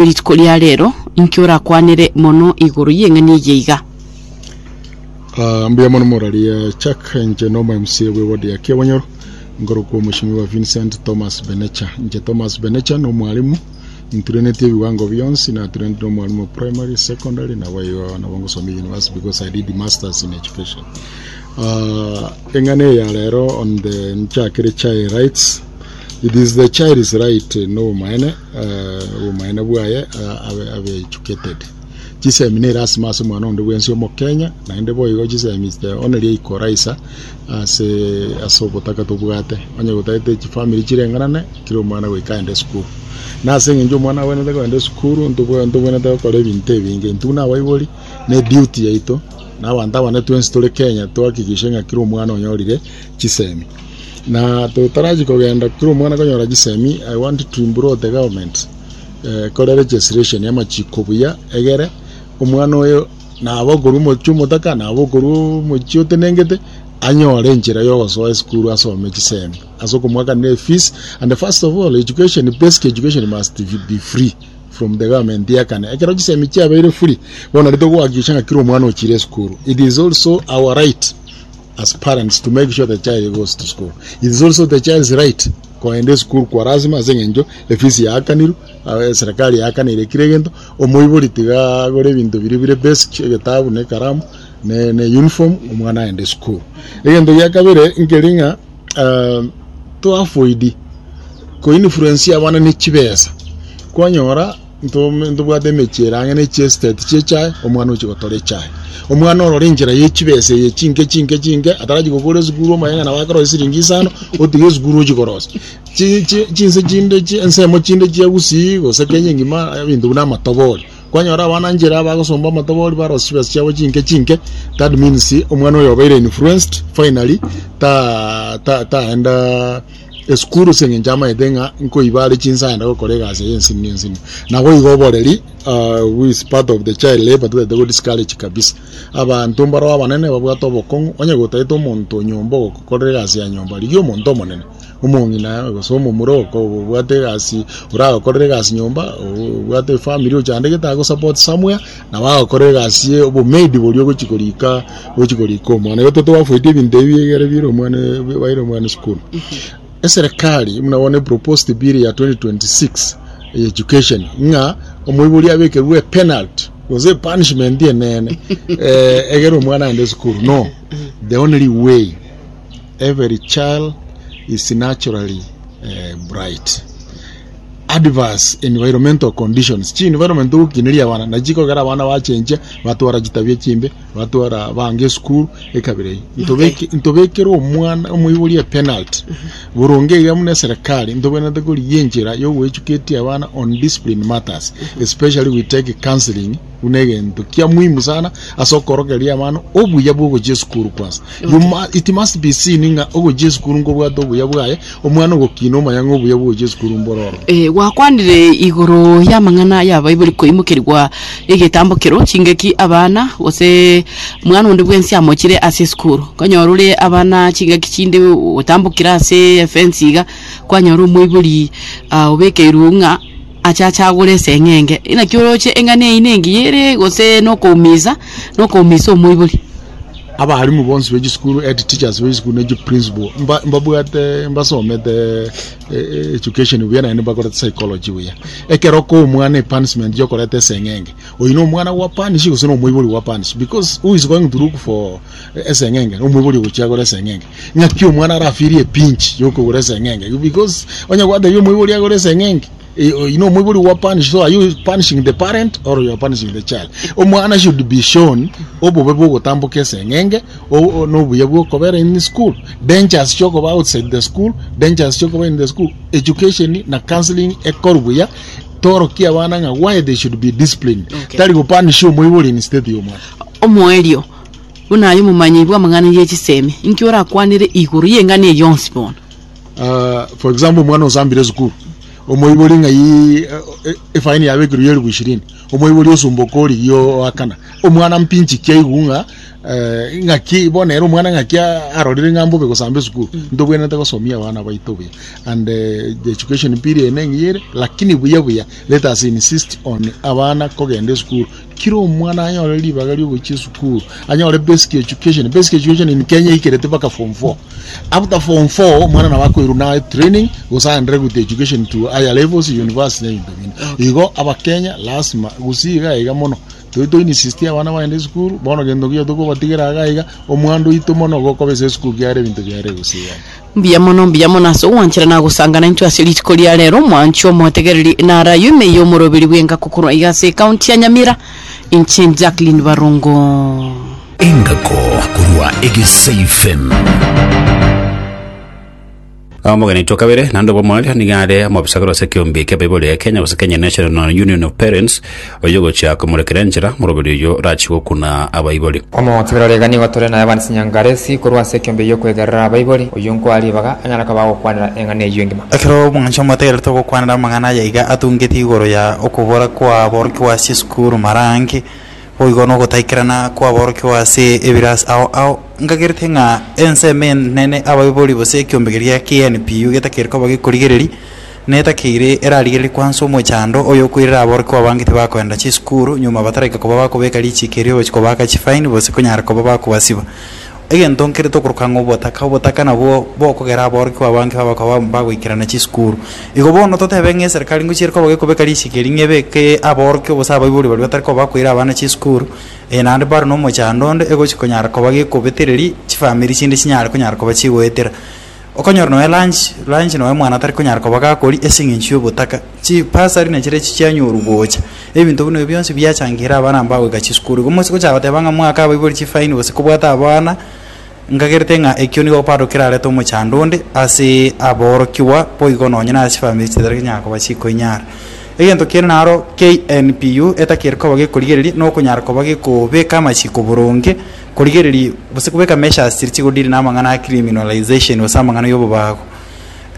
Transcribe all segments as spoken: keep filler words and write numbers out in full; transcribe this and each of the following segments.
Rituko ria rero inki orakwanere mono igoro y'eng'ani eye iga? Ah, mbuya mono moraria Chuck inche nomo M C A bwe ward ya Kiabonyoro, nkorokwa Omweshimiwa Vincent Thomas Benecha. Inche Thomas Benecha nomwalimu, inturenetie ebiwango bionsi, naturenete nomwalimu primary, secondary, nabo igo nabo ngosomia university because I did masters in education. uh, eng'ana eye ya rero on the nchakire child rights. It is the child's right nobomaene, uh, obomaene bwaye uh, abe, abe educated. Chisemi ne erasima ase omwana onde bwensi omokenya, naende boigo chisemi is the only equalizer ase ase obotaka tobwate. Onye gotagete chifamiri chirenganane, kira omwana goika aende esukuru. Na ase eng'encho omwana abwenerete kogenda esukuru, ntobwe ntobwenerete gokora ebinto ebinge. Intwe buna abaibori ne duty yaito na abanto abane twensi tore Kenya tohakikishe ng'a kira omwana onyorire chisemi. Na totarachi kogenda kira omwana konyora chisemi, I want to implore the government eh, kore legislation y'amachiko buya egere omwana oyo nabo okorwa omochie omotaka, nabo okorwa omochie otenengete, anyore enchera yogosoa esukuru asome chisemi ase okomwakanera efees. And first of all, education, basic education must be free from the government yakane. Ekero chisemi chiabeire free, bono rito gohakikisha ng'a kira omwana ochire esukuru. It is also our right as parents to make sure the child goes to school. It is also the child's right koenda esukuru kwa lazima ase eng'encho efees yakanirwe, uh, serikali yakanire kire egento. Omoibori tiga agore ebinto biri bire basic, egetabu na ekaramu ne, ne uniform, omwana aende esukuru. Egento gia kabere nkeri ng'a uh, to avoid koinfluence abana ne chibesa. Kwanyora ntobwate emechie ere ang'e ne chiestate chie echae, omwana ochi gotora echae, omwana orora enchera ye chibesa eye chinke chinke chinke, atarachi gokora esukuru, omanye ng'a nabo akorosia siringi isano, otiga esukuru ochi korosia. Chi- chi- chinse chinde chi- ensemo chinde chia Gusii gose Kenya engima, ebinto buna amatobori, kwanyora abana nchera bagosomba amatobori, barosia chibesa chiabo chinke chinke. That means omwana oyo obeire influenced, finally ta ta taenda esukuru ase eng'encho amaete ng'a nkoiba are chinsa aenda gokora egasi eye ensini ensini. Nabo igo oboreri, uh, who is part of the child labor, totagete go discourage kabisa. Abanto mbaro abanene babwate obokong'u. Onye gotaete omonto nyomba ogokorera egasi ya nyomba, rigia omonto omonene, omong'ina gose omomura obwate egasi oragokorera egasi nyomba, obwate efamily ochandegete, agosupport somewhere, nabo agokorera egasi ye obomaid boria ogochi korika ogochi korika omwana. Igo totoavoid ebinto ebi egere bire omwana baire omwana esukuru. Eserikali buna bono proposed bill ya twenty twenty-six education ng'a omoibori abekerwe penalty gose punishment enene eh, egere omwana aende esukuru. No, the only way, every child is naturally uh, bright. Adverse environmental conditions, chi environment ogokineria abana nachikogera abana bachenchia, batwara chitabia chimbe, batwara bange esukuru ekabira eyio. Ntobeke ntobekere omwana omoibori epenalty boronge iga. Buna eserikali ntobwenerete korigia enchera yogoeducate abana on discipline matters. Especially we take counseling buna egento kia muhimu sana ase okorokeria abana obuya bwa ogochia esukuru. Kwanza you ma, it must be seen ng'a ogochia esukuru nkobwate obuya bwaye. Omwana ogokina omanya ng'a obuya bwa ogochia esukuru mbororo. Eh, gwakwanire igoro y'amang'ana y'abaibori koimokerigwa egetambokero chingaki abana gose mwana onde bwensi amochire ase esukuru. Konyora ore abana chingaki chinde otambokire ase efence iga, kwanyora omoibori ah, obekeirwe ng'a achacha agore eseng'enge. Naki oroche eng'ana eyio nengiya ere gose nokoumisa nokoumisa omoibori? Abarimu bonsi b'echisukuru, head teachers b'echisukuru na principal, mba- mbabwate mbasomete eh, education buya, naende mbakorete psychology buya. Ekero ko omwana epunishment yokoreta eseng'enge, oyo na omwana gwa punish gose na omoibori gwa punish? Because who is going to look for eh, eseng'enge? Omoibori ogochia agora eseng'enge. Ng'aki omwana arafeel epinch yokogora eseng'enge? Because onye gwatebia omoibori agore eseng'enge, eh, you know omoibori gwa punish. So are you punishing the parent or you are punishing the child? Omwana should be shown obobe bwogotamboka eseng'enge, o- o- n'obuya bwokobera in school, dangers chiokoba outside the school, dangers chiokoba in the school. Education na counseling ekoru buya, torokia abana ng'a why they should be disciplined. Okay. Tari gopunish omoibori instead ya omwana. Omoerio, buna aye omomanyi bwa amang'ana ye chisemi, inki orakwanire igoro y'eng'ana eye yonsi bono? uh, for example, omwana osambire esukuru, omoibori ng'ai efaini yabekirwe ya elifu ishirini, omoibori osumboka origia oakana omwana mpinchi kiaigu ng'a Eh, ng'aki bono ere omwana ng'aki arorire ng'a mbobe gosamba esukuru, ntobwenerete gosomia abana baito buya. And eh, the education period neng'iyere, lakini buya buya let us insist on abana kogenda esukuru. Kira omwana anyore ribaga riogochia esukuru, anyore basic education. Basic education in Kenya ikerete mpaka form four. After form four omwana nabo akoirwa na training gose aendere with education to higher levels, university na ebinto binde. Igo abakenya lazima gusii iga iga mono toi toinsist abana bagende esukuru. Bono gento kiyo tokobatigera iga iga omwando oito mono gokobesa esukuru kiare ebinto biare gusii iga. Mbuya mono, mbuya mono ase ogwanchera na gosangana intwe ase rituko ria rero. Mwanchi omotegereri, narayo ime ya omoroberi bwengako korwa iga ase ekaunti ya Nyamira, inche Jacqueline Barongo. Engako korwa Egesa F M. Omogeni to kabere nando bomwaria nigare omobisagero ase ekiombe kia baibori ya Kenya gose Kenya National Union of Parents, oyo gochia komorekera enchera moroberi oyo rachi gokuna abaibori. Omotegererega, nigo tore naye Evans Nyangaresi korwa ase ekiombe giokwegerera abaibori, oyo nkwaribaga anyara koba gokwanera eng'ana eywo engima. Ekero omwancho omotegerere togokwanera amang'ana yaiga atungeti igoro ya okobora kwa borokigwa ase esukuru marange boigo nogotaikerana kwa borokigwa ase ebirasi ao ao ngagerete ng'a ensemo enene abaibori gose ekiombe keria K N P U getakere koba gekorigereri netakeire erarigereri kwansa omochando oyo okoirera aborokigwa abange tibakoenda chisukuru nyuma bataraika koba bakobeka richiko erio gochi kobaka chifaini gose konyara koba bakobasiba. Egento nkere tokoroka ng'a obotaka, obotaka nabwo bokogera aborokigwa abange babakoba bagoikerana chisukuru. Igo bono totebe ng'a eserikali ngochiere koba gekobeka richiko eri ng'ebeke aborokigwa gose abaibori baria batari koba bakoira abana chisukuru, eh, naende bado na omochando onde egochi konyara koba gekobetereri chifamiri chinde chinyare konyara koba chigoetera. Okonyora noe lunch, lunch noe omwana atari konyara koba gakori ase eng'encho ya obotaka. Chibasari nachire chianyoru gocha ebinto buna ebio bionsi biachangira abana mbagoika chisukuru. Igo moise gochaka goteba ng'a mwaka abaibori chifaini gose kobwata abana, ngagerete ng'a ekio nigo bado kerarete omochando onde ase aborokigwa boigo nonye na ase chifamiri chitari konyara koba chikoinyara. Egento kende naro K N P U etakere koba gekorigereria na okonyara koba gekobeka amachiko boronge korigereria gose kobeka measures chiri chigodiri na amang'ana a criminalization gose amang'ana ya obobago.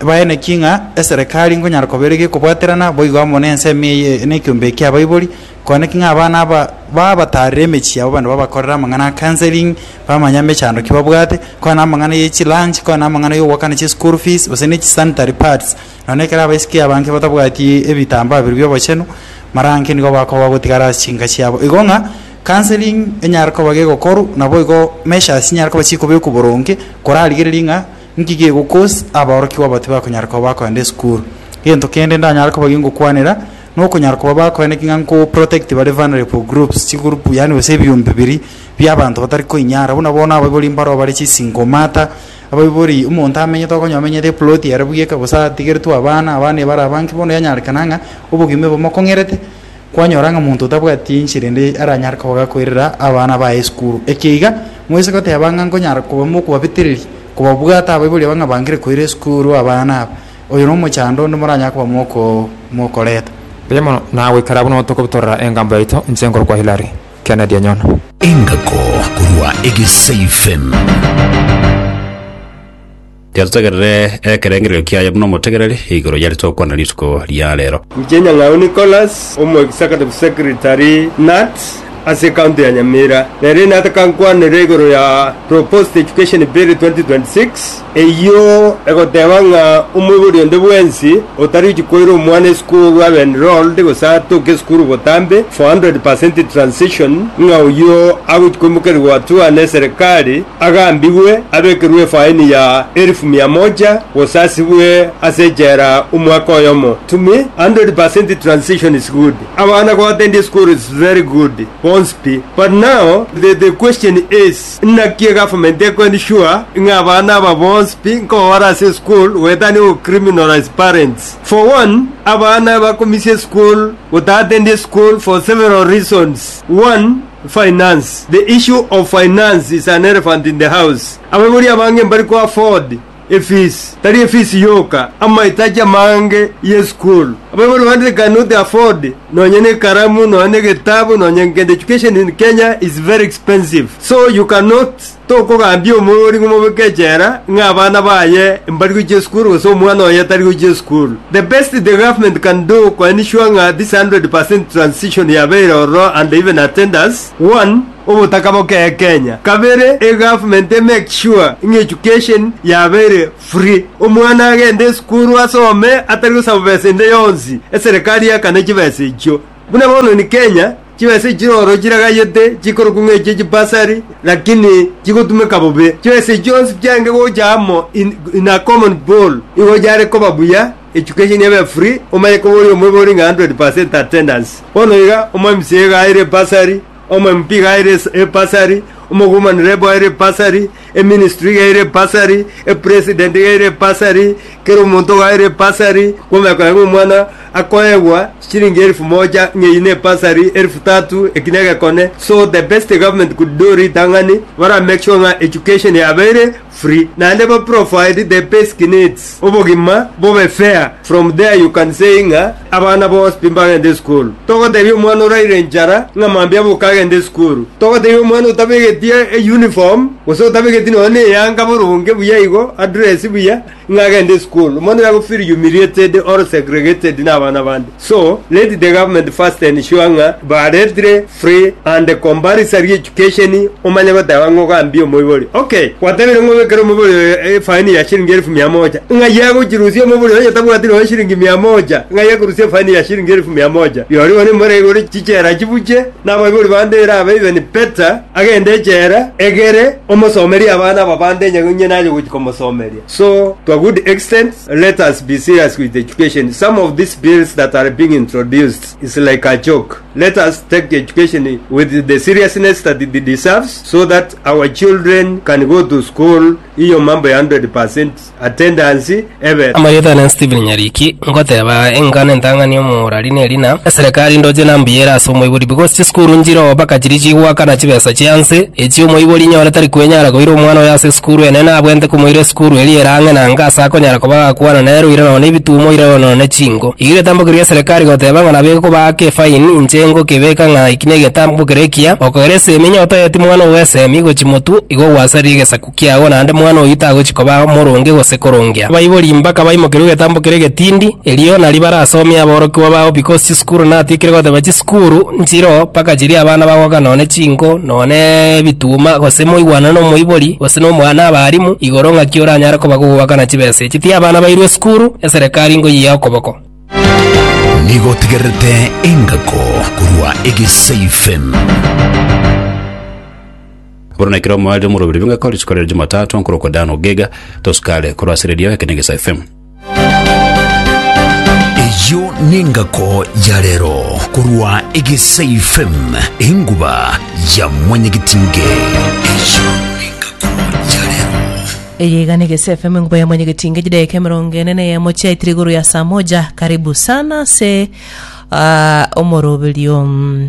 Baeneki ng'a eserekari nkonyara koba ere gekobwaterana boigo amo na ensemo eye na ekiombe eke abaibori koaneki ng'a abana aba babatarire emechie yabo bande babakorera amang'ana a counseling, bamanya emechando ki babwate kwana amang'ana ya chilunch, kwana amang'ana ya ogwakana chischool fees gose na chisanitary pads. Nonye ekero abaiseke abange batabwati ebitambaa biria bia obochenu marange nigo bakoba bagotigara ase chinka chiabo. Igo ng'a counseling enyare koba gegokorwa nabo igo measures chinyare koba chikobekwa boronge korarigereria ng'a nki gegocause abaorokigwa aba tibakonyara koba bakoenda esukuru. Egento kende ndanyare koba gingokwanera na okonyara koba bakoeneki ng'a nko protect bare vulnerable groups, chigroup yaani gose ebiombe biri bia abanto batari koinyara buna bono abaibori mbaro bare chisingle mother. Abaibori omonto amenyete okonyora amenyete eplot ere bweka gose atigeretwe abana, abana ebare abange. Bono yanyarekana ng'a obogima bomokong'erete kwanyora ng'a monto otabwati enchera ende aranyare koba gakoirera abana baye esukuru. Eke iga moise goteba ng'a nkonyara koba mokobabetereri kobabwata abaibori aba ng'a bangire koira esukuru abana aba, oyo na omochando onde moranyare koba moko mokoreta. Mbuya mono nagoikara buno tokobutorera engambo yaito inche nkorokwa Hilary Kennedy Anyono. Engako korwa Egesa F M. Tiatutegerere ekerengererio kiaye buna omotegereri igoro yari tokwana rituko ria rero. Mchenya Ng'au Nicholas, omo executive secretary K N U T ase county ya Nyamira. Nere natakankwanere igoro ya proposed education bill twenty twenty-six eyo egoteba ng'a omoibori onde bwensi otari chikoira omwana esukuru abe enrolled gose atoke esukuru botambe for one hundred percent transition, ng'a oyo agochikoimokerigwa hatua na eserikali agambigwe abekerwe efaini ya elfu mia moja gose asibwe ase ejera omwaka oyomo. To me, one hundred percent transition is good. Abana goattend school is very good bonspi, but now the, the question is, naki government eko ensure ng'a abana aba bonspi nkobara ase school wetani go criminalize parents? For one, abana bakomisia school gotaattend school for several reasons. One, finance. The issue of finance is an elephant in the house. Abaibori abange mbari ko afford efees, tari efees yoka, amahitaji amange ye school. Abaibori bandi cannot afford nonye ne karamu, nonye ne gitabu, nonye ngende. Education in Kenya is very expensive, so you cannot tokogambia omorori ng'omobeke echera ng'a abana baye mbari gochia esukuru gose omwana oye tari gochia esukuru. The best the government can do ko ensure ng'a this one hundred percent transition yabeire ororo and even attendance, one Obotaka boke Kenya. Kabere, e government e make sure ng'a education yabeire free. Omwana agende esukuru asome atari gosaba besa ende yonsi. Eserikali yakane chibesa echio. Buna bono ni Kenya, chibesa chiroro chiragayete chikoroku ng'eche chibasari, lakini chigotumeka bobe. Chibesa chionsi chiange gocha amo in, in a common pool. Igo jare koba buya, education yabe free, omanye kobori omwebori ng'a hundred percent attendance. Bono iga, omo M C A gaire basari, omo M P gaire basari, omo woman rep gaire basari, e ministry gaire basari, e president gaire basari, kero omonto gaire basari, kwomeka ng'a omwana akoegwa shilingi elfu moja ng'eine basari elfu tatu ekinege kone. So the best the government could do ritang'ani bara make sure ng'a education yabeire free, naende ba provide the basic needs, obogima bobe fair. From there you can say ng'a abana bonsi mbagende school. Togotebia omwana oraire nchara ng'a mambia bokagende school. Togotebia omwana otabegetie e uniform gose otabegeti nonye eyanga boronge buya igo address buya ng'a agende school. Omwana oyo feel humiliated or segregated na abana bande. So let the government first ensure ng'a baretire free and compulsory education. Omanye goteba ng'o gambia omoibori. Okay, gwatebire ng'o bekere omoibori e faini ya shilingi elfu mia moja. Ng'a yagochirusia omoibori oyo tabwati nonye shilingi mia moja. Ng'a yakorusia faini ya shilingi elfu mia moja. Yori one more igoro chichera chibuche na abaibori bande erabe even better agende echera egere omosomeria abana babande nyenye naje gochikomosomeria. So to a good extent, let us be serious with education. Some of these bills that are being introduced is like a joke. Let us take education with the seriousness that it deserves so that our children can go to school. Iyo mambo ya hundred percent attendance ever. Amayeta na Steven Nyariki ngoteba engana entang'ani omorari nerina eserikali ndoche nambiyera ase omoibori because chisukuru njiro baka chiri chigwakana chibesa chianse echi omoibori nyore tari kwenyara koira omwana oyo ase esukuru ene nabwente komoira esukuru eri erang'e nanga ase akonyara koba gakwana nero ira nonye ebitumo ira nonye chingo igire tambokeria eserikali goteba ng'a nabe kobaka efaini inche ngokebeka ng'a iki na egetambokero ekiya okogera esemi nyotoeti mwana ogo esemi gochimotu igo gwasarire egesaku kiago naende mwana oyo tagochikoba moronge gose korongea abaibori mpaka baimokerwe egetambokero egetindi erio nari barasomia aborokiwa bao because chisukuru natikire goteba chisukuru nchiro mpaka chiri abana bagoka nonye chingo nonye ebituma gose moigwana na omoibori gose na omwana abarimu igoro ng'aki oranyare koba gogwakana chibesa echi ti abana bairwe esukuru eserekari ngoyia okoboko. Nigo tigerete engako korwa Egesafe M. Borona kiro mwali murubiri binga koli sikorera Jumatatu nkoroko dano gega toskale korwa radio ekenegesa F M. Eyo nengako ya lero korwa Egesafe M enguba ya mwenyegitinge. Eyo nengako ya lero. Eyega Egesa F M nguba ya mwenyegitinge jideke emirongo ene na eyemo chiaitire igoro ya saa moja. Karibu sana se uh, omoroberio um,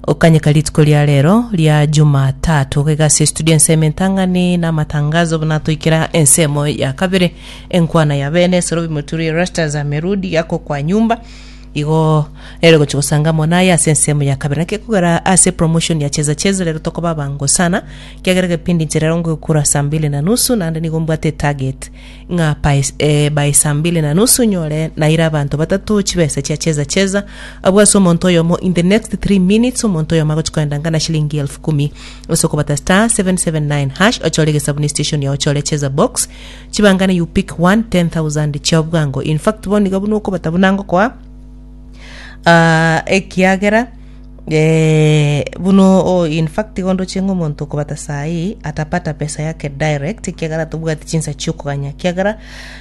okanyeka rituko ria rero ria Jumatatu kegase studio ensemo entang'ani na amatangazo buna toikera ensemo ya kabere enkwana ya bene sorobi muturi rastas amerudi yako kwa nyumba igo rero gochigosanga monaye ase ensemo ya kabere nake kugera ase promotion ya cheza cheza rero tokoba bango sana kiagera gepindi ncherero ngokura saa mbili na nusu naende nigo mbwate target ng'a by, eh, by saa mbili na nusu nyore naira abanto batatu chibesa chia cheza cheza abwase omonto oyomo in the next three minutes omonto oyomo agochikoenda ngana shilingi elfu kumi osokobata star seven seven nine hash ochore gesabuni station ya ochore cheza box chibangane you pick one ten thousand chia obwango. In fact bo nigo buna okobata bunango kwa Uh, ekiagera eh, buno oh, in fact gondo chengo omonto okobata sai atapata pesa yake direct kiagera tobwati chinsa chiokoganya kiagera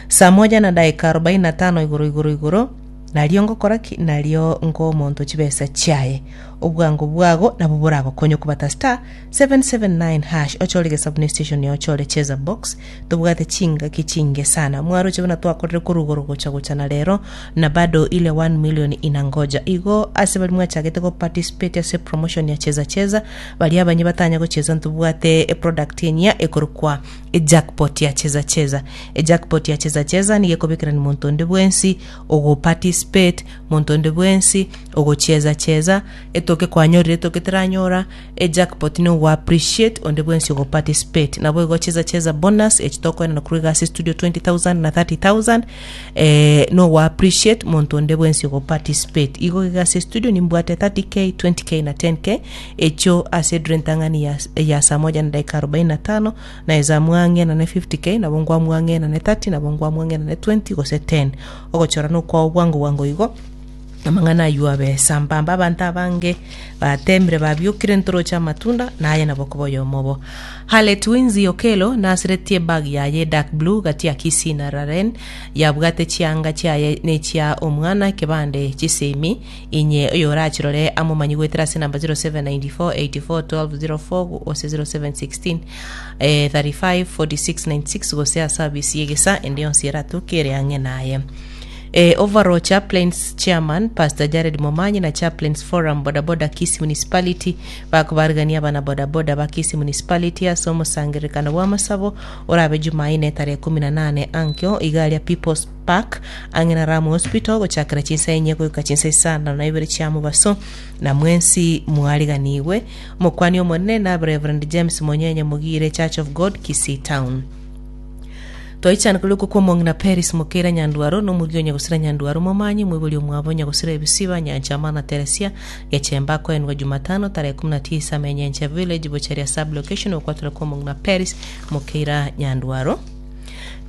saa moja na dakika arobaini na tano igoro igoro igoro nario ngokora ki nario nko omonto chibesa chiaye obwango bwago nabo boragokonya okobata star seven seven nine hash ochore gesabuni station ya ochore cheza box tobwate chingaki chinge sana mwaroche buna twakorire korugoro gocha gocha na rero na bado ile one million inangoja igo ase bari mwachagete go participate ase promotion ya cheza cheza bari abanye batanya gocheza ntubwate e product enya ekorokwa e jackpot ya cheza cheza e jackpot ya cheza cheza nige kobekera ni muntu onde bwensi ogo participate muntu onde bwensi ogocheza cheza eto Etoke kwanyorire, etoke teranyora, ejackpot nigo appreciate onde bwensi ogo participate. Nabo igo cheza cheza bonus echitokoena korwa ase studio twenty thousand na thirty thousand, eh, no appreciate monto onde bwensi ogo participate. Igo iga ase studio nimbwate thirty k, twenty k na ten k echo ase drentang'ani ya, ya saa moja na dakika arobaini na tano na eza mwang'ena ne fifty k, nabo ngwamwang'ena ne thirty, nabo ngwamwang'ena ne twenty gose ten. Ogochora nokwa obwango bwango igo amang'ana aywo abe sambamba. Abanto abange batemire babiokire ntoroche amatunda naye nabo koba oyomobo. Halet Winzi Okelo nasiretie bag yaye dark blue gati ya Kisii na Raren yabwate chianga chiaye nechia omwana kebande chisemi inye oyorachirore amomanyi gwetera ase namba zero seven nine four eight four twelve zero four gose zero seven sixteen eh, thirty five forty six ninety six gose asabisi yegesa ende yonsi eratukere ang'e naye. Eh, overall chaplains chairman Pastor Jared Momanyi na chaplains forum bodaboda Kisii Municipality bakubarigania abana bodaboda ba Kisii Municipality ase omosangererekano bwa amasabo orabe Jumanne tarehe kumi na nane ankyo igaria People's Park ang'e na Ramu Hospital gochakera chinsa enye goika chinsa isano na ibere chia mobaso na mwensi mwariganiwe. Omokwani omonene na Reverend James Monyenye Mugire, Church of God Kisii Town. Toichana kuliko kwa mong'ina Paris Mukera Nyandwaro no mugio nyagusira Nyandwaro momanyi mwibuli omwabo nyagusira ebisiba Nyanchama na Teresia Gechemba kwenwa Jumatano tarehe kumi na tisa Menyenche Village Bocheria sub location okwatura kwa mong'ina Paris Mukera Nyandwaro.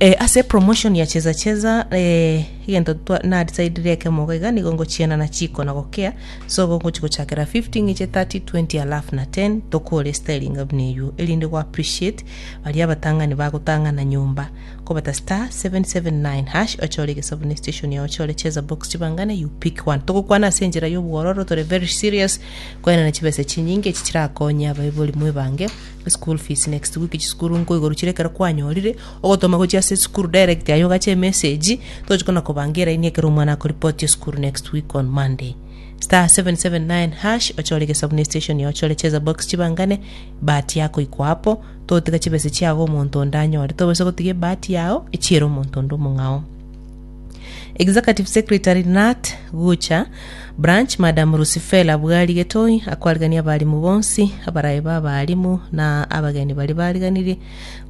Eh, ase promotion ya cheza cheza eh, igento na decide reke moga nigo ngochiana na chiko na gokea so gongo chiko chakera fifteen iche thirty twenty alafu na ten tokore styling of neyu elinde go appreciate bali abatangani bagotangana nyumba kobata star seven seven nine hash ochore gesabune station ya ochore cheza box chibangane you pick one tokokwana senjera yobwororo tore very serious kwena na chibese chinyinge chichirakonya baibuli mwebange school fees next week chisukuru nko igoro chirekera kwanyorire ogotoma gochia ase school direct ayo gache message tochikona kobangira ini ekero omwana akoripoti school next week on Monday. Star seven seven nine hash ochore gesabune station ya ochore cheza box chibangane bahati yako iko hapo totiga chibese chiago omonto onde anyore tobese gotiga bahati yao echiere omonto onde omong'ao. Executive Secretary Nat Gucha Branch Madam Rusifela Bwali Getoi akwarigania abarimu bonsi abarayi b'abarimu na abageni bari bariganirie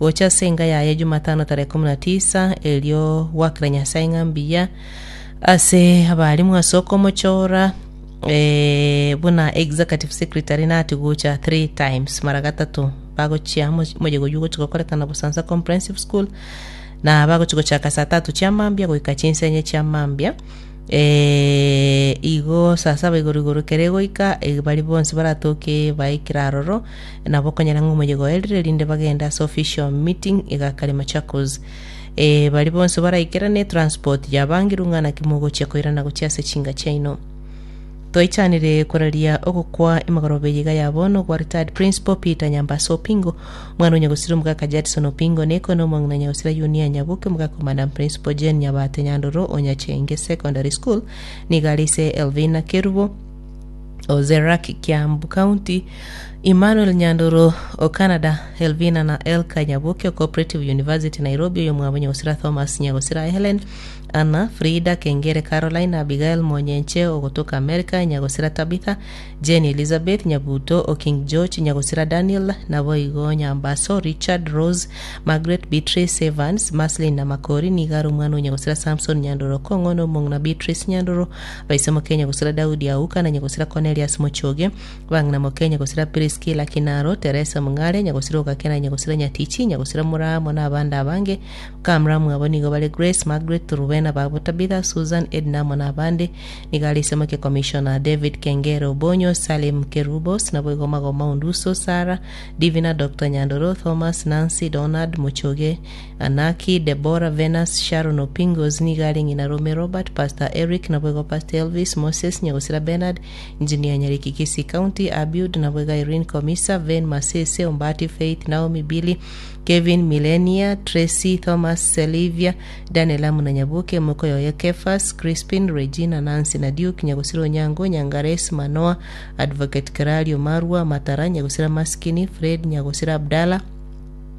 gocha senga yaye Jumatano tarehe kumi na tisa elio wakira Nyasaye ng'ambiya ase abarimu asoko mochora eh, buna Executive Secretary Nat Gucha three times mara gatatu bagochia mojego yugo chikokorekana Busanza Comprehensive School na bagochigochaka saa tatu chia mambia goika chinsenye chia mambia eh, igo saa saba igoro igoro kere goika e, bari bonsi baratoke baikira aroro nabo konyera ng'omoyego erire rinde bagenda ase official meeting igakare Machakos eh, bari bonsi baraikerane transport yabangirwe ng'ana kimogochia koirana gochia ase chinga chiaino. Toichanire koraria ogokwa emagorobe yiga yabono gwa retired principal Peter Nyambaso Opingo mwana nyagusira omugaka Jadson Opingo neko no mwana nyagusira Yunia Nyabuke omugaka Madam Principal Jane Nyabate Nyandoro Onyachenge Secondary School nigalise Elvina Kerubo Ozerak Kiambu County Emmanuel Nyandoro o Canada Elvina na Elka Nyabuke Cooperative University Nairobi oyo mwabo nyagusira Thomas nyagusira Helen Anna Frida Kengere Caroline Abigail Monyenche ogotoka America nyagusira Tabitha Jane Elizabeth Nyabuto o King George nyagusira Daniel Naboigo Nyambaso Richard Rose Margaret Beatrice Evans Maslin na Makori nigaro mwana nyagusira Samson Nyandoro Kongo no mongna Beatrice Nyandoro baisemo Kenya gusira Daudi Auka na nyagusira Cornelius Mochoge bangna Mokenya gusira Priscilla Kinaro Teresa Mungare nyagusira Okakena nyagusira Nyatichi nyagusira Muramo na abanda abange Kamramu abo nigo bale Grace Margaret Rubena babo Tabitha Susan Edna mona abande nigalise ke Commissioner David Kengere Obonyo Salim Kerubos nabo igoma goma Unduso Sara Divina Doctor Nyandoro Thomas Nancy Donald Muchoge Anaki Deborah Venus Sharon Opingos nigali ngina Rome Robert Pastor Eric nabo igo Pastor Elvis Moses nyagusira Bernard Engineer Nyariki Kisii County Abiud nabo iga Irene Komisa Ven Masese Ombati Faith Naomi Billy Kevin Milenia Tracy Thomas Selivia Daniel Amuna Nyabuke Mukoyoye Kefas Crispin Regina Nancy na Duke Nyagusira Onyango Nyangares Manoa Advocate Keralio Marwa Matara Nyagusira Maskini Fred Nyagusira Abdalla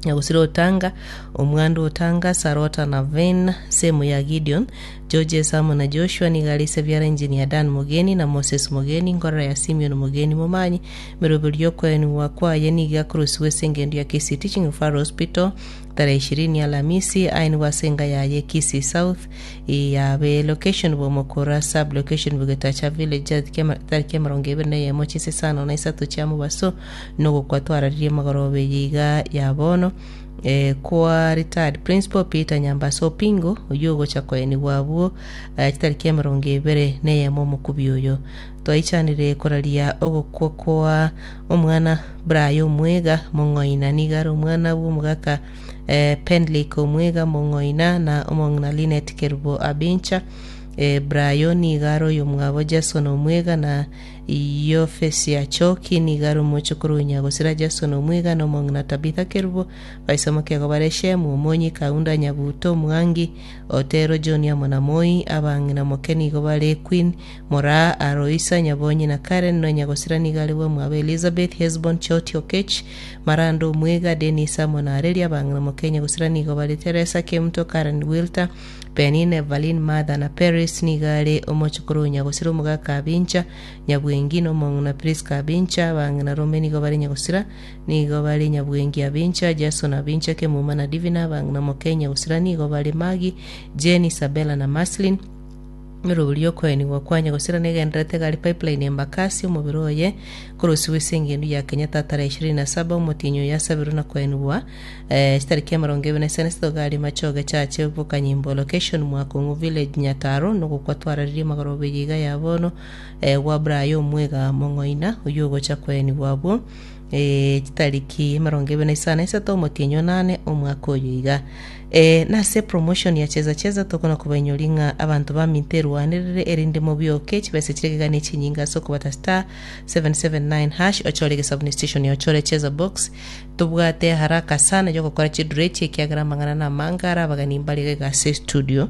Nyagusira Otanga Omwandu Otanga Sarota na Ven Semu ya Gideon George Samo na Joshua niga Sebiara Engineer Dan Mogeni na Moses Mogeni ngorora ya Simeon Mogeni Momanyi meroberi yokwenu kwaye niga kurusiwe sengendo ya Kisii Teaching Referral Hospital tarehe ishirini Alhamisi aini wasenga yaye Kisii South yabe location bomokora sub location bugetacha village tariki emirongo ibere na eyemo chise isano na isato chia mobaso nogokwatwararirie magorobe yiga ya bono eh, kwa retired principal Peter Nyambaso Opingo oyo ogocha koeni bwabwo eh, chitariki emirongo ibere na eyemo omokubi oyo twaichanire koraria ogokwa kwa omwana Brian Omwega Mong'oina niga are omwana bwa omogaka eh, Penlake Omwega Mong'oina na omong'ina Linet Kerubo Abincha eh, Brian niga are oyo mwabo Jason Omwega na Yofesi Choki niga are omochokoro Nyagosira Jason Omwega na omong'ina Tabitha Kerubo baisomoke bare Shemu Omonyi Kaunda Nyabuto Mwangi Otero John amo na Moi abang'ina moke nigo bare Queen Moraa Aroisa Nyabonyi na Karen no Nyagosira niga are bwa mwabo Elizabeth Hesbon Choti Okech Marando Omwega Dennis amo na Arelia abang'ina moke Nyagosira nigo bare Teresa Kemto Karen Wilter Penine Evelyn Martha na Paris niga are omochokoro Nyagosira omogaka Abincha Nyabwengi na omong'ina Priska Abincha abang'ina Rome nigo bare Nyagosira nigo bare Nyabwengi Abincha Jason Abincha Kemuma na Divina abang'ina moke Nyagosira nigo bare Magi Jane Isabella na Maslin meroberi okoenigwa kwa Nyagosira negenderete gari pipeline Embakasi omobere oye korosiwa ase engendo ya Kenyatta tarehe ishirini na saba omotinyo yasabirwe na koenigwa eh, chitariki emirongo ebere na isano isatu gari machoge chache bokanyimbo location Mwakong'u village Nyataro nogokwatwararirie magorobe yiga ya bono eh, gwa Brian Omwega Mong'oina oyo ogocha koenigwa abwo eh, chitariki emirongo ebere na isano isato omotinyo nane omwaka oyo iga eh, nase promotion ya cheza cheza tokona kubainyori ng'a abantu baminterwanirire erinde mobioke chibese chiregegane chinyinga ase okobata star seven seven nine hash ochore gesabuni station ya ochore cheza box tobwate haraka sana yogokora chidure ekiagera amang'ana na amangara abagani mbare ase studio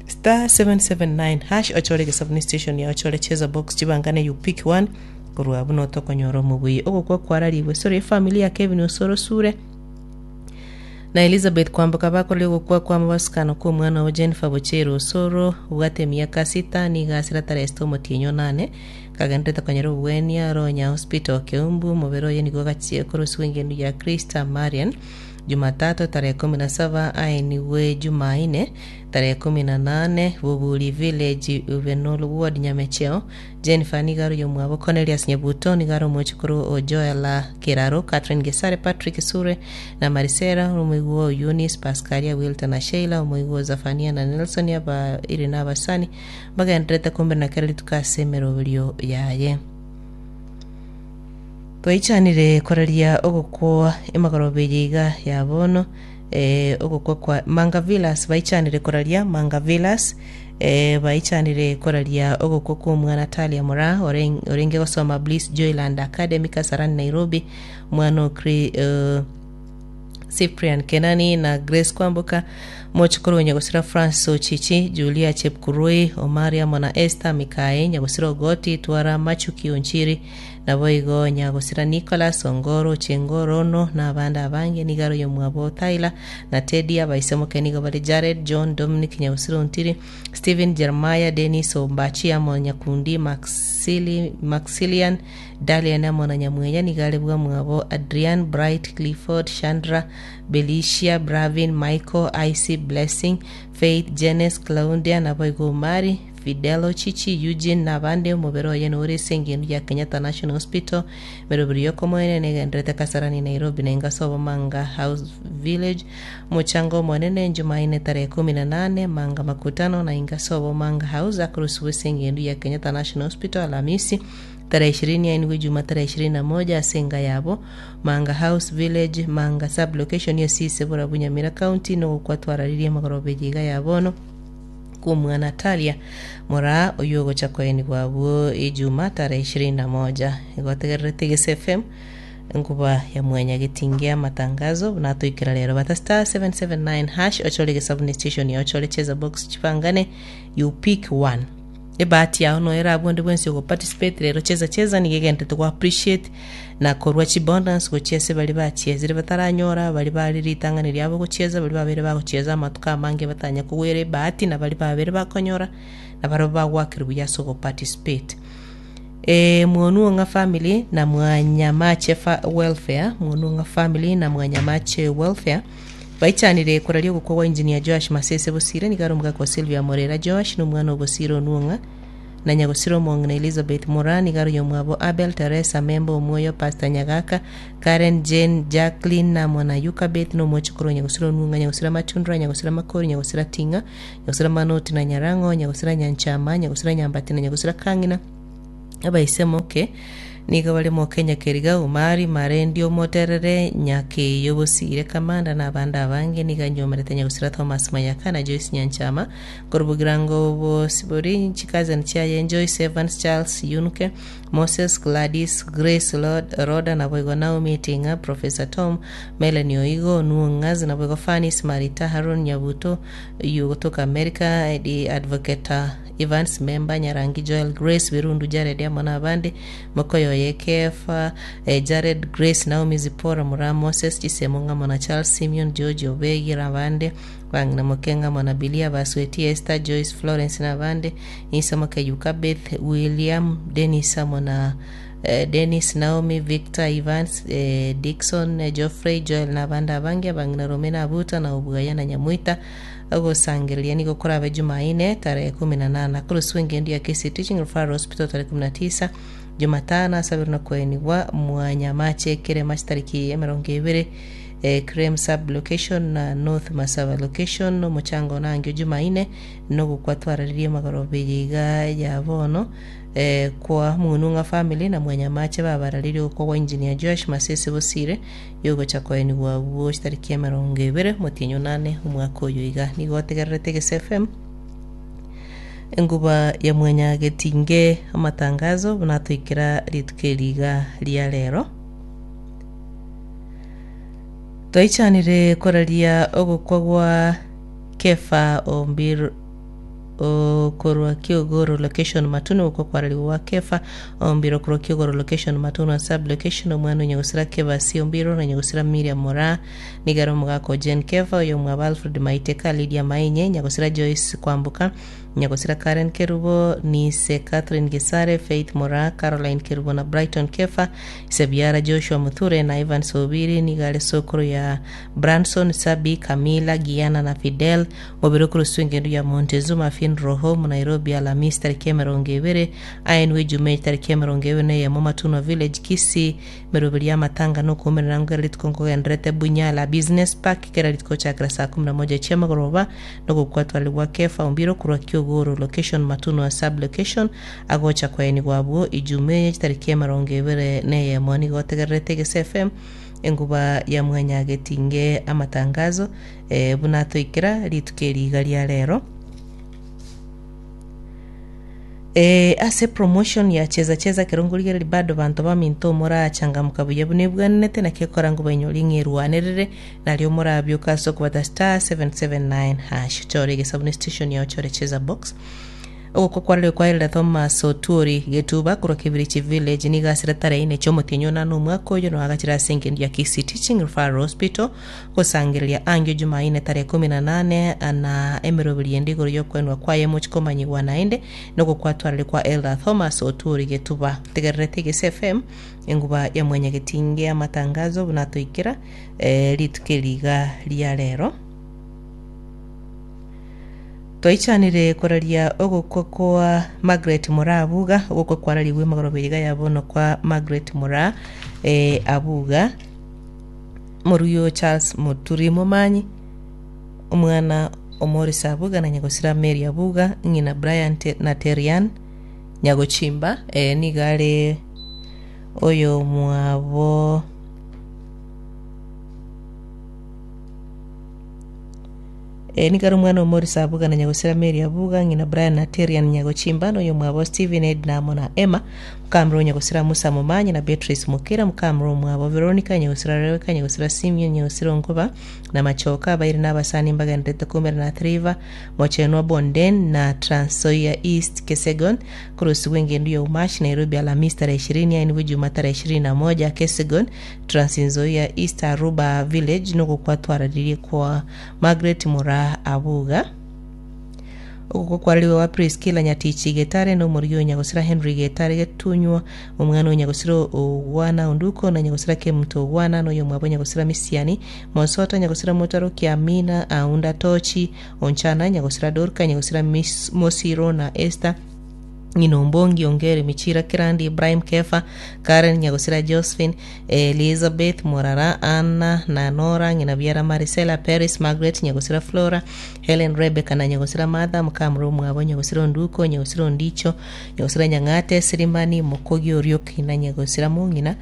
star seven seven nine hash ochore gesabuni station ya ochore cheza box chibangane you pick one korwa buno tokonyora omobui ogokwa kwararibwe sore efamily ya Kevin Osoro Sure na Elizabeth Kwamboka bakorire gokwa kwa mabasikano kwa omwana wa Jennifer Bochero Osoro obwate emiaka sita niga asira tarehe sita omotienyo nane kagenderete konyora obwenia Ronya Hospital Keumbu omobere oye nigo gachie korosiwa engendo ya Krista Marian Jumatatu tarehe kumi na saba aeniwe Jumanne tarehe kumi na nane Bubuli Village Uvenol Ward Nyamecheo Jennifer nigaro yomwabo Cornelius Nyabuto nigaro omochukuru o Joela Kiraro Catherine Gesare Patrick Sure na Marisera omoigwo Eunice Pascalia Wilton na Sheila omoigwo Zafania na Nelson aba iri na abasani bagenderete kumbe na kereri tukasemeroberio yaye twaichanire koraria ogokwa emagorobe yiga ya bono eh, ogokwa kwa Manga Villas baichanire koraria Manga Villas eh, baichanire koraria ogokwa kwa omwana Talia Mora oreng, orenge gosoma Bliss Joyland Academy Kasarani Nairobi mwana okri uh, Cyprian Kenani na Grace Kwamboka mochikoro Nyagosira Francis Ochichi Julia Chepkurui Omaria Mona Esther Mikae Nyagosira Ogoti Twara Machuki Onchiri naboigo Nyagosira Nicholas Ongoro Chengorono na abanda abange nigaro yomwabo Tyler na Teddy abaisemoke nigo bari Jared John Dominic Nyagosira Ontiri Stephen Jeremiah Dennis Ombachi amo Nyakundi Maxili, Maxilian Dalian amo na Nyamwenya nigare bwa mwabo Adrian Bright Clifford Chandra Belicia Bravin Michael Ic Blessing Faith Jenes Claudia naboigo Mari Fidelo Chichi Eugene nabande omobere oye nore ase engendo ya Kenyatta National Hospital meroberi yokomoene negenderete Kasarani Nairobi na ingasobo Manga House Village mochango omonene Jumanne tarehe kumi na nane Manga Makutano na ingasobo Manga House akurusiwe ase engendo ya Kenyatta National Hospital Alhamisi tarehe ishirini yainigwe Juma tarehe ishirini na moja asenga yabo Manga House Village Manga sub location yosise Burabu Nyamira County nogokwatwararirie magorobe yiga yabono kumwana Talia Moraa oyo ogocha koeni bwabwo Ijuma tarehe ishirini na moja igotegererete Gese F M nkuba ya mwenya gitingia matangazo natuikira lero bata star seven seven nine hash ochole gesabuni station ya ochole cheza box chipangane you pick one Ebahati yao noyo erabwo onde bwensi ogoparticipate rero cheza cheza niga egenderete go appreciate na korwa chibonus gochia ase baria bachiezire bataranyora baria bare ritang'ani riabo gochieza baria babere bagochieza amatuko amange batanya kogwera ebahati na baria babere bakonyora na barabwo bagwakera buya ase ogoparticipate. E, Muonuong'a family na Mwanyamache fa welfare Muonuong'a family na Mwanyamache welfare baichanire koraria ogokwa gwa engineer Joash Masese Bosire nigo are omogaka wa Sylvia Morera Joash na omwana o Bosire Onuong'a na Nyagosira omong'ina Elizabeth Moraa nigo are oyomwabo Abel Teresa Memba Omwoyo Pastor Nyagaka Karen Jane Jacqueline na mwana Yukabeth na omochokoro o Nyagosira Onuong'a Nyagosira Matundura Nyagosira Makori Nyagosira Ting'a Nyagosira Manoti na Nyarang'o Nyagosira Nyanchama Nyagosira Nyambati na Nyagosira Kang'ina abaise moke nigo bare Mokenya Keriga Omari Marendi Omoterere Nyakeyo Bosire Kamanda na abande abange nigo anyomerete Nyagosira Thomas Mayaka na Joyce Nyanchama korubugirango Bosibori chikazen chiaye Joyce Evans Charles Yunke Moses Gladys Grace Lord Roda naboigo Naomi Tinga Professor Tom Melanie Oigo Nuong'azi naboigo Fanis Marita Haron Nyabuto yu kutoka America the advocate Evans Memba Nyarangi Joel Grace Birundu Jared amo na abande Mokoyoye Kefa eh, Jared Grace Naomi Zipora Mura Moses Chisemo ng'amo na Charles Simeon George Obegi abande Bang'ina Moke ng'amo na Bilia Basweti Esther Joyce Florence na abande Isa Moke Yukabeth William Dennis amo na eh, Dennis Naomi Victor Evans eh, Dixon eh, Geoffrey Joel na abande abange abang'ina Romena Abuta na Obugaya na Nyamuita ogosangereria nigo korabe Jumaine tarehe kumi na nana koroswa engendo ya K C Teaching Referral Hospital tarehe kumi na tisa Jumatano asabiri na kwenigwa Mwanyamache kerema chitariki emirongo ebere eh, Krem sub location na North Masaba location omuchango nangio Jumaine nogokwatwararirie magorobe yiga ya bono eh, kwa Mununga family na Mwanyamache babararirie okwo gwa engineer Josh Masese Bosire yogocha kwenigwa bwo chitariki emirongo ebere motienyo nane omwaka oyo iga nigo otegererete Gese F M enguba ya Mwanyagetinge amatangazo bunatoikera rituko eriga ria rero twaichanire koraria ogokwa gwa Kefa Ombiro okorwa Kiogoro location Matunu okwo kwarariwa gwa Kefa Ombiro korwa Kiogoro location Matunu sub location omwana Nyagosira Kebasi Ombiro na Nyagosira Miriam Mora nigaro omogaka Jane Kefa oyo mwaba Alfred Maiteka Lydia Mainye Nyagosira Joyce Kwambuka Nyagosira Karen Kerubo Nise Catherine Gesare Faith Mora Caroline Kerubo na Brighton Kefa Sebiara Joshua Muthure na Ivan Sobiri nigare sokoro ya Branson Sabi Camila Giana na Fidel mobiro kuruswa engendo ya Montezuma Fin Roho mu Nairobi Alhamisi tariki emirongo ebere ainwe Jume tariki emirongo ebere neyemo Matuno Village Kisii meroberi ya matanga nokuumerera ngera rituko nkogenderete Bunyala Business Park kera rituko chakira saa kumi na moja chiamagoroba nogokwatwarigwa Kefa Ombiro korwa Kiogoro location Matuno sub location agocha kwaenigwa bwo Ijume tariki emirongo ebere neyemo nigo otegererete Gese F M enguba ya Mwanyagetinge amatangazo eh, bunatoikera rituko eriga ria rero. E, ase promotion ya cheza cheza kerongorigereri bado banto baminto morachangamuka buya bune bwanete nakekora ngo bainyori ng'erwanerere nario morabioka ase okobata star seven seven nine hash chore gesabuni station ya chore cheza box ogokwa kwarire kwairira Thomas Otuori Getuba korwa Kibirichi Village nigo asire tarehe ine chiomotienyo nane omwaka oyo noagachire ase engendo ya Kisii Teaching Referral Hospital gosangereria angio Jumaine tarehe kumi na nane na emeroberi ende igoro yokwenwa kwaye mochikomanyigwa naende nogokwatwarire kwa Elder Thomas Otuori Getuba tegererete Gese F M enguba ya Mwanyagetinge amatangazo bunatoikera eh, rituko eriga ria rero. Twaichanire koraria ogokwa kwa Margaret Mora Abuga ogokwa kwarariwe magorobe yiga yabono kwa Margaret Mora eh, Abuga moruyo Charles Muturi Momanyi omwana Omorisa Abuga na Nyagosira Mary Abuga ng'ina Brian te, na Terian Nyagochimba eh, nigare oyo mwabo E, nigaro omwana Omorisa Abuga na Nyagosira Mary Abuga ng'ina Brian na Terian Nyagochimba noyo mwabo Stephen Edna amo na Emma Mukamro Nyagosira Musa Momanyi na Beatrice Mukira, Mukamro Mwabo Veronica Nyagosira Rebecca Nyagosira Simeon Nyagosira Nkoba na Machoka abaire n'abasani mbagenderete kumera na Triva Mochenwa Bonden na Transoia East Kesegon kurusi bw'engendu ya Umashi Nairobi Alhamisi tarehe ishirini aini Juma tarehe ishirini na moja Kesegon Transinzoia East Aruba Village nugukwatwararirie kwa Margaret Mura Abuga. Oguko kwarariwe wa Priscilla Nyatichi Getare no murigi o Nyagosira Henry Getare Getunywa, omwana o Nyagosira Ogwana Onduko na Nyagosira Kemuto Ogwana noyo mwabo Nyagosira Misiani Mosota Nyagosira Motaro Kiamina Aunda Tochi Onchana Nyagosira Dorka Nyagosira Mis- Mosiro na Esther Ng'inombongi Ongere Michira Kirandi Ibrahim Kefa Karen Nyagosira Josephine Elizabeth Morara Anna na Nora Ng'inabiara Marisela Paris Margaret Nyagosira Flora Helen Rebecca na Nyagosira Martha Mukamro Mwabo Nyagosira Onduko Nyagosira Ondicho Nyagosira Nyang'ate Sirimani Mokogi Orioki na Nyagosira Mong'ina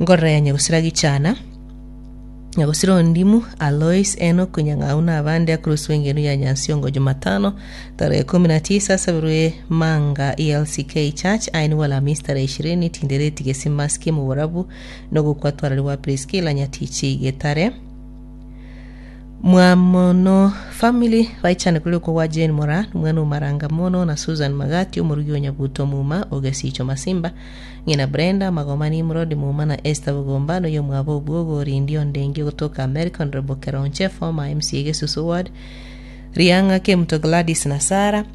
Ngorora ya Nyagosira Gichana Nyagosira Ondimu Alois Enoch Nyang'au na abande akurusi w'engenu ya Nyansiongo Jumatano tarehe kumi na tisa sabirwe Manga E L C K Church aini Alhamisi tarehe ishirini Tindereti Gesimaski Muburabu nogukwatwarariwa Priscilla Nyatichi Getare. Mwamono family baichane kuli uko wa Jane Mora mwana umaranga mono na Susan Magati omurugi wa Nyabuto Muma Ogesicho Masimba ng'ina Brenda Magoma Nimrod Muma na Esther Bugombano yo mwabo Obwogo Rindio Ndengi kutoka America Honorable Keronche former M C A Gesusu Ward Rianga Kemto Gladys na Sara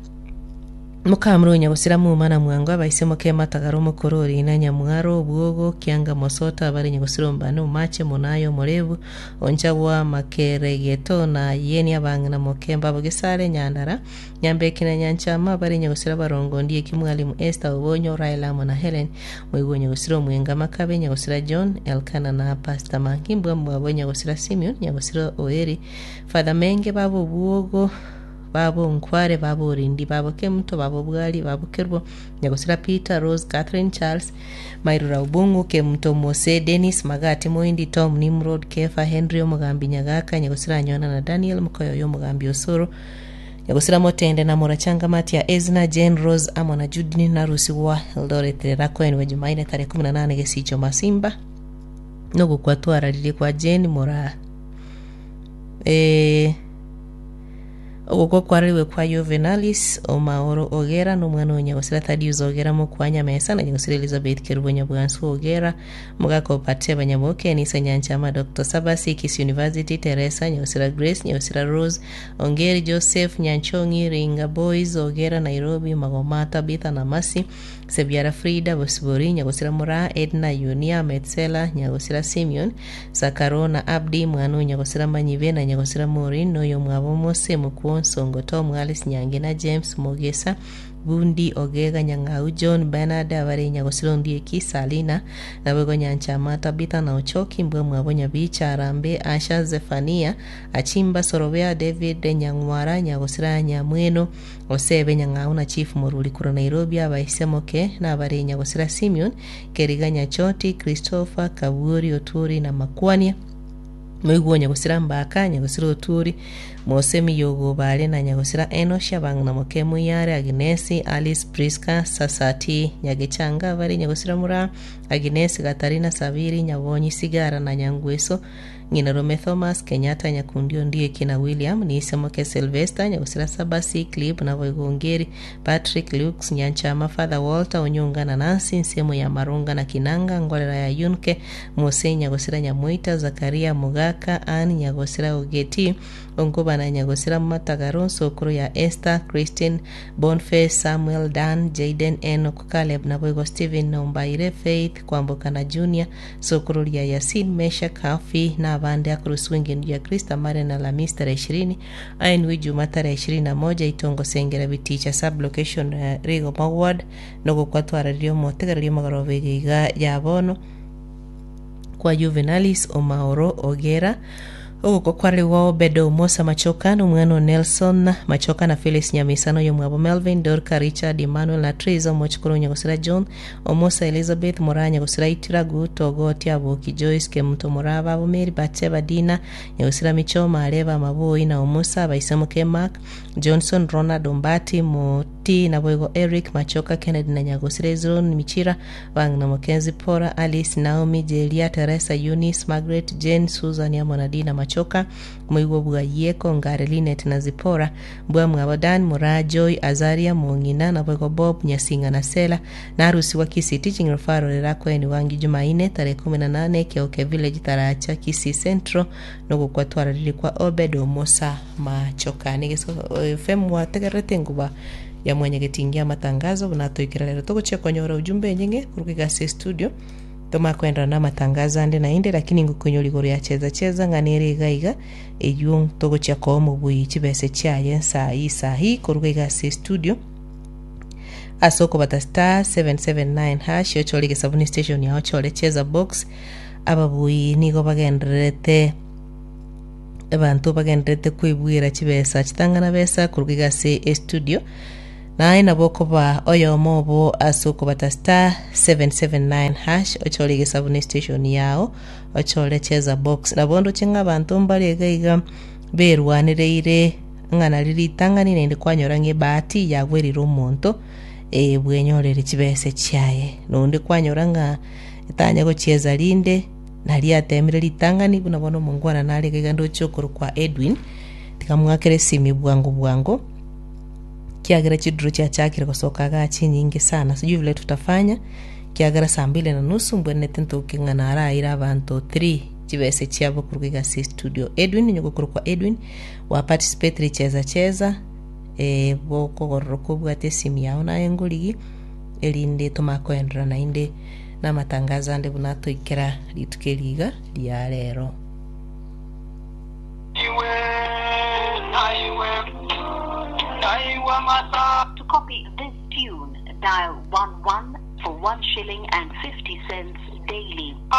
Mukamuro Nyagosira Muma na Mwango abaise moke matagaro mokorori na Nyamwaro Obwogo Kianga Mosota abari Nyagosira Mbano Mache Monayo Morebu Onchagwa Makeregeto na Yeni abang'ina Mokemba Bogesare Nyandara Nyambeki na Nyanchama abari Nyagosira Barongo Ndiye Kimwalimu Esther Obonyo Raila na Helen Mwigo Nyagosira Mwenga Makabe Nyagosira John Elkana na Pastor Mankimbwa Mwabo Nyagosira Simeon Nyagosira Oeri Father Menge babo Obwogo babo Nkware babo Orindi babo Kemuto babo Bwali babo Kerbo Nyagosira Peter Rose Catherine Charles Mairura Ubungu Kemuto Mose Dennis Magati Moindi Tom Nimrod Kefa Henry Omugambi Nyagaka Nyagosira Nyona na Daniel Mukoyo Omugambi Osoro Nyagosira Motende na Morachanga Matia Ezna Jane Rose amo na Judini na Rusi wa Eldoret Rakoen wa Jumaine tarehe kumi na nane Gesicho Masimba nogukwatwararirie kwa Jane Mora eh oguko kwarariwe kwa Juvenalis Omaoro Ogera n'omwana wa Nyagosira Thaddeus Ogera Mukwanya Mesa na Nyagosira Elizabeth Kerubo Nyabwansu Ogera Mugako Pateba Nyaboke Nisa Nyanchama Doctor Sabasi Kisii University Teresa Nyagosira Grace Nyagosira Rose Ongeri Joseph Nyanchongi Ringa Boys Ogera Nairobi Magoma Tabitha na Masi Sebiara Frida Bosibori Nyagosira Mura Edna Yunia Metsela Nyagosira Simeon Sakarona Abdi Mwanu Nyagosira Manyibe na Nyagosira Maureen noyo mwabo Mose Mukuonsongo Tom Alice Nyange na James Mogesa Bundi Ogega Nyang'au John Bernard abare Nyagosira Ondieki Salina nabego Nyanchama Tabitha na Ochoki mbwe mwabo Nyabicha Arambe Asha Zefania Achimba Sorobea David Nyang'wara Nyagosira Nyamweno Osebe Nyang'au na Chief Mururi kura Nairobi abaisemoke na abare Nyagosira Simeon Keriga Nyachoti Christopher Kaburi Oturi na Makwania Moiguo Nyagosira Mbaka Nyagosira Oturi Mose Miyogo Bale na Nyagosira Enosh abang'ina Moke Muyare Agnesi Alice Priska Sasati Nyagechanga bari Nyagosira Mura Agnes Gatarina Sabiri Nyabonyi Sigara na Nyangweso Ng'ina Rome Thomas Kenyatta Nyakundi Ondieki na William Nisemoke Sylvester Nyagosira Sabasi Clip na Boigongeri Patrick Lux Nyanchama Father Walter Onyonga na Nancy Nsemo ya Marunga na Kinanga Ngorera ya Yunke Mose Nyagosira Nyamuita Zakaria Mugaka Ann Nyagosira Ogeti Ongoba na Nyagosira Matagaro Sokoro ya Esther Christine Bonface Samuel Dan Jaden Enoch Caleb na Boigo Steven Nombaire Faith Kwamboka na Junior Sokoro ya Yasin Mesha Kafi na abande akurusi w'engendo ya Krista Mare na Alhamisi tarehe ishirini ainwi Juma tarehe ishirini na moja Itongo Sengera Biticha sublocation uh, Rigoma ward nogukwatwararirio motegererio magoroba iga ya bono kwa Juvenalis Omaoro Ogera oguko kwarĩgwo Obedo Musa Machoka n'omwana Nelson Machoka na Phyllis Nyamisano y'omwabo Melvin Dorka Richard Emmanuel na Teresa Omochikuru Nyagosira John Omosa Elizabeth Mora Nyagosira Itira Guto Ogoti Aboki Joyce Kemuto Muraba abo Mary Batsheba Dina Nyagosira Michoma Areba Maboi na Omosa Baisemuke Mark Johnson Ronald Ombati T naboigo Eric Machoka Kennedy na Nyagosira Hezron Michira Bang'ina Mackenzie Pora Alice Naomi Jelia Teresa Eunice Margaret Jane Susan amo na Dina Machoka Moigwa bwa Yieko Ngare Linet na Zipora Mbwa Mwabo Dan Mura Joy Azaria Mong'ina naboigo Bob Nyasinga na Sela na arusi wa Kisii Teaching Referral erakweni wangi Jumaine tarehe kumi na nane Kioke Village Taracha Kisii Central nogokwa twararire kwa Obed Omosa Machoka nigeso F M wategerete nguba ya mwenyegetingia matangazo bunatoikira rero togochia konyora ujumbe nyinge kuruga gase studio tomakwendera na matangazo ande na inde lakini ngukunyora igoro ya cheza cheza ng'anere iga iga eywo togochia koa omobui chibese chiaye nsahi sahi kuruga igase studio ase okobata star seven seven nine hash ochore gesabuni station yao ochore cheza box ababui nigo bagendererete abantu bagendererete kwibwira chibesa chitang'ana besa kuruga igase estudio naye nabo okoba oyomo obo ase okobata star seven seven nine hash ochore gesabuni station yao ochore cheza box nabo ndoche ng'a abanto mbare iga iga berwanereire ng'a nari ritang'ani naende kwanyora ng'a ebahati yagwerire omonto eh, bwenyorere chibese chiaye nonde kwanyora ng'a etanya gochieza rinde nari atemire ritang'ani buna bono omongwana nare iga iga ndoche okorokwa Edwin tikamwakere esimi bwango bwango kiagera chiduro chiachakire gosoka iga chinyinge sana sijui vile tutafanya kiagera saa mbili na nusu mbwenete ntoke ng'a naraire abanto three chibese chiabo koruga iga ase studio Edwin nyogokorokwa Edwin wa participate richeza cheza eh, bokogororoka obwate esimu yao naye ngorigi erinde tomakoendera naende na amatangazo ande buna atoikera rituko eriga ria rero. To copy this tune, dial one one for one shilling and fifty cents daily.